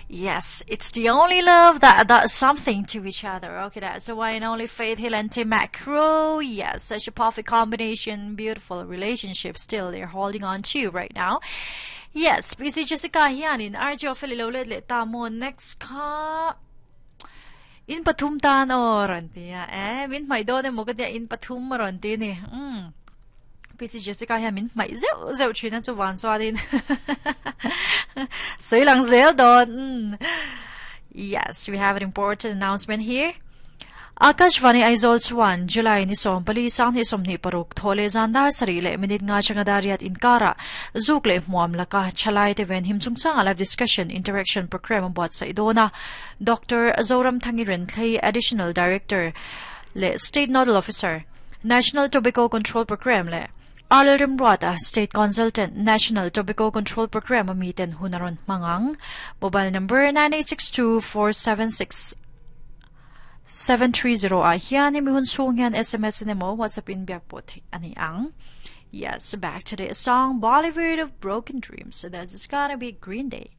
Yes, it's the only love that does something to each other. Okay, that's the one and only Faith Hill and Tim McGraw. Yes, such a perfect combination, beautiful relationship still they're holding on to right now. Yes, PC Jessica hianin RJ Ofeli lo let leh ta maw next kha in pathum tan aw rawn ti a eh min hmaih dawn emaw ka tia in pathum a rawn ti ni umm PC Jessica hian min hmaih zeuh zeuh thin a chuvan chuanin sawi lang zel dawn umm yes we have an important announcement here Akashvani Aizawl chuan July ni 14 2026 thaw leh zan dar sarih leh minute nga changa dar riat inkarah zuk leh hmuam laka thalai te ven him chungchanga live discussion interaction program a buatsaih dawn a. Doctor Zoramthangi Renthlei Additional Director leh State Nodal Officer, National Tobacco Control Programme leh Arlel Remruata State Consultant, National Tobacco Control Programme a miten hun a rawn hmang ang. Mobile number 9862 476 730 ah hian hemi hun chhung hian SMS in emaw WhatsApp in biak pawh theih a ni ang. Yes, back to the song Bollywood of Broken Dreams. So that's gonna be Green Day.